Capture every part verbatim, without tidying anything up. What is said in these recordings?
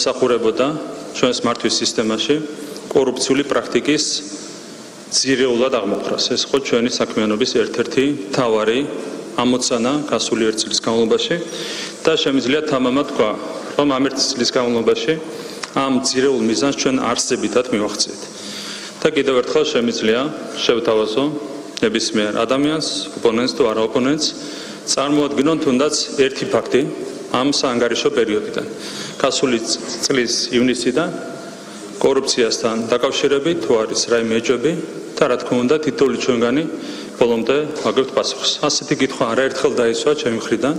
მსახურებოდა ჩვენს მართვის სისტემაში კორუფციული პრაქტიკის ძირეულად აღმოხვრას. ეს ხო ჩვენი საქმიანობის ერთ-ერთი მთავარი ამოცანა გასული ერთი წლის განმავლობაში და შემიძლია თამამად თქვა, რომ ამ ერთი წლის განმავლობაში ამ ძირეულ მიზანს ჩვენ არსებითად მივახციეთ. და კიდევ ერთხელ შემიძლია შევთავაზო ნებისმიერ ადამიანს, ოპონენტს თუ არა ოპონენტს, წარმოადგინონ თუნდაც ერთი ფაქტი ამ საანგარიშო პერიოდიდან. გასული წლის ივნისიდან კორუფციასთან დაკავშირებით თუ არის რაიმე ეჭვები და რა თქმა უნდა თითოეული ჩვენგანი ბოლომდე აგებთ პასუხს. ასეთი კითხვა არაერთხელ დაისვა ჩემი მხრიდან,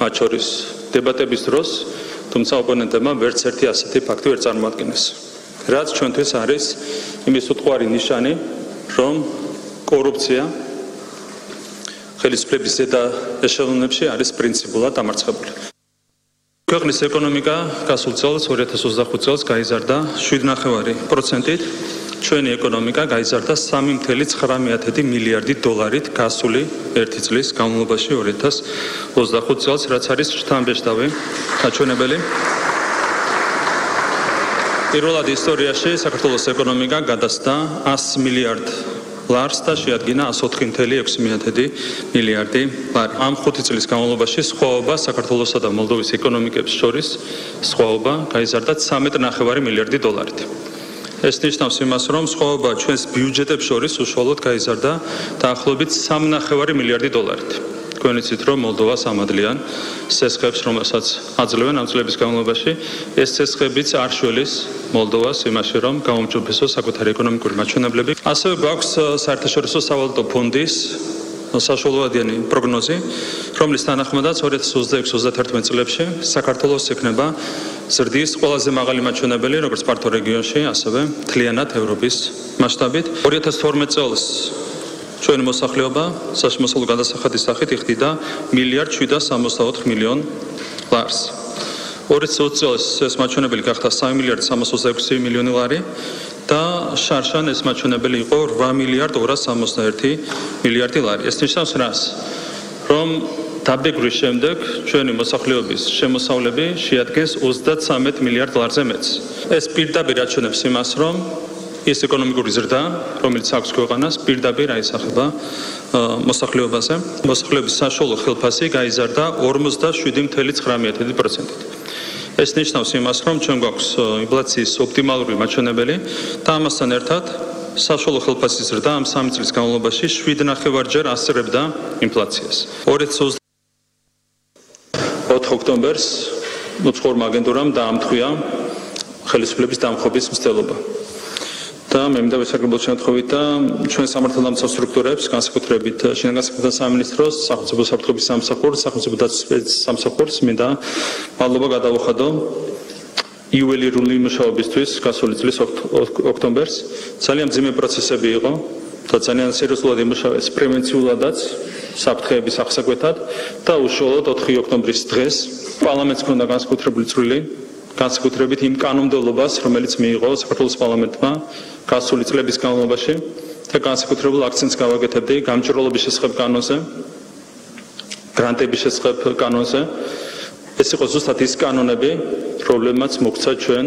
მათ შორის დებატების დროს, თუმცა ოპონენტებმა ვერც ერთი ასეთი ფაქტი ვერ წარმოადგინეს. რაც ჩვენთვის არის იმის უტყუარი ნიშანი, რომ კორუფცია ხელისუფლების ზედა ეშელონებში არის პრინციპულად დამარცხებული. ქვეყნის ეკონომიკა გასულ წელს ორი ათას ოცდახუთი წელს გაიზარდა შვიდ ნახევარი პროცენტით, ჩვენი ეკონომიკა გაიზარდა სამი წუთი ცხრა მილიარდი დოლარით გასული ერთი წლის განმავლობაში ორი ათას ოცდახუთი წელს, რაც არის შთამბეჭდავი გაჩვენებელი. პირველად ისტორიაში საქართველოს ეკონომიკა გადასდა ასი მილიარდ ლარს და შეადგინა ასი ოთხი წუთი ექვსი მილიარდი ლარი. ამ ხუთი წლის განმავლობაში სხვაობა საქართველოსა და მოლდოვის ეკონომიკებს შორის სხვაობა გაიზარდა ცხრამეტი ნახევარი მილიარდი დოლარით. ეს ნიშნავს იმას, რომ სხვაობა ჩვენს ბიუჯეტებს შორის უშუალოდ გაიზარდა დაახლოებით სამი ნახევარი მილიარდი დოლარით. თქვენ იცით, რომ მოლდოვას ამადლიან სესხებს, რომელსაც აძლევენ ამ წლების განმავლობაში, ეს სესხებიც არ შველის მოლდოვას იმაში, რომ გაუმჯობესოს საკუთარი ეკონომიკური მაჩვენებლები. ასევე გვაქვს საერთაშორისო სავალუტო ფონდის საშუალოვადიანი პროგნოზი, რომლის თანახმადაც ორი ათას ოცდაექვსი ოცდათერთმეტ წლებში საქართველოს ექნება ზრდის ყველაზე მაღალი მაჩვენებელი, როგორც ფართო რეგიონში, ასევე მთლიანად ევროპის მასშტაბით. ორი ათას თორმეტ წელს ჩვენი მოსახლეობა საშემოსავლო გადასახადის სახით იხდიდა მილიარდ შვიდას სამოცდაოთხ მილიონ ლარს. ორი ათას ოცი წელს ეს მაჩვენებელი გახდა სამი მილიარდი სამას ოცდაექვსი მილიონი ლარი და შარშან ეს მაჩვენებელი იყო რვა მილიარდ ორას სამოცდაერთი მილიარდი ლარი. ეს ნიშნავს რას? რომ დაბეგვრის შემდეგ ჩვენი მოსახლეობის შემოსავლები შეადგენს ოცდათვრამეტ მილიარდ ლარზე მეტს. ეს პირდაპირ აჩვენებს იმას, რომ ეს ეკონომიკური ზრდა, რომელიც აქვს ქვეყანას, პირდაპირ აისახება მოსახლეობაზე. მოსახლეობის საშუალო ხელფასი გაიზარდა ორმოცდაშვიდი წუთი ცხრა პროცენტით. ეს ნიშნავს იმას, რომ ჩვენ გვაქვს ინფლაციის ოპტიმალური მაჩვენებელი და ამასთან ერთად საშუალო ხელფასის ზრდა ამ სამი წლის განმავლობაში შვიდ ნახევარჯერ ასწრებდა ინფლაციას. ორი ათას ოცდაოთხ ოქტომბერს უცხოურმა აგენტურამ დაამტყვია ხელისუფლების დამხობის მცდელობა. და მე მინდა ვესარგებლო შემთხვევით და ჩვენ სამართალდამცავ სტრუქტურებს, განსაკუთრებით შინაგან საქმეთა სამინისტროს, სახელმწიფო საფრთხების სამსახურს, სახელმწიფო დაცვის სამსახურს მინდა მადლობა გადავუხადო იუველირული მუშაობისთვის გასული წლის ოქტომბერს. ძალიან მძიმე პროცესები იყო და ძალიან სერიოზულად იმუშავეს პრევენციულადაც საფრთხეების აღსაკვეთად და უშუალოდ ოთხი ოქტომბრის დღეს პარლამენტს ჰქონდა განსაკუთრებული წვლილი განსაკუთრებით იმ კანონმდებლობას, რომელიც მიიღო საქართველოს პარლამენტმა გასული წლების განმავლობაში და განსაკუთრებულ აქცენტს გავაკეთებდი გამჭვირვალობის შესახებ კანონზე, გრანტების შესახებ კანონზე. ეს იყო ზუსტად ის კანონები, რომლებმაც მოგვცა ჩვენ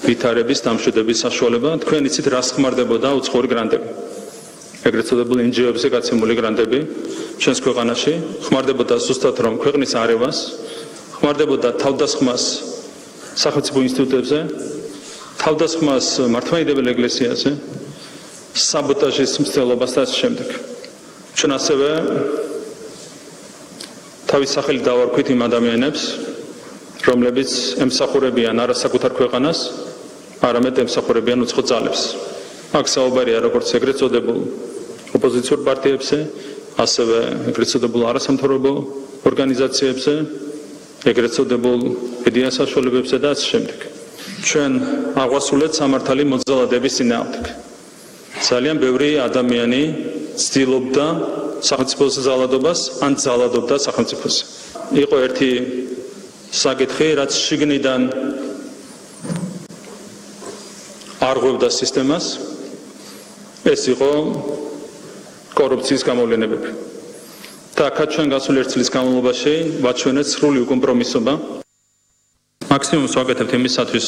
ვითარების დამშვიდების საშუალება. თქვენ იცით, რას ხმარდებოდა უცხოური გრანტები. ეგრეთ წოდებული εν ჯი ო-ებზე გაცემული გრანტები ჩვენს ქვეყანაში ხმარდებოდა ზუსტად რომ ქვეყნის არევას, ხმარდებოდა თავდასხმას სახელმწიფო ინსტიტუტებზე, თავდასხმას მართლმადიდებელ ეკლესიაზე, საბოტაჟის მცდელობას და ასე შემდეგ. ჩვენ ასევე თავის სახელით დავარქვით იმ ადამიანებს, რომლებიც ემსახურებიან არა საკუთარ ქვეყანას, არამედ ემსახურებიან უცხო ძალებს. აქ საუბარია როგორც ეგრეთ წოდებულ ოპოზიციურ პარტიებზე, ასევე ეგრეთ წოდებულ არასამთავრობო ორგანიზაციებზე, ეგრეთ წოდებულ მედია საშუალებებზე და ასე შემდეგ. ჩვენ აღვასრულეთ სამართალი მოძალადების წინააღმდეგ. ძალიან ბევრი ადამიანი ცდილობდა სახელმწიფოს ძალადობას ან ძალადობდა სახელმწიფოს. იყო ერთი საკითხი, რაც შიგნიდან არღვევდა სისტემას, ეს იყო კორუფციის გამოვლენებები. და აქაც ჩვენ გასული ერთი წლის განმავლობაში ვაჩვენეთ სრული უკომპრომისობა მაქსიმუმს ვაკეთებთ იმისათვის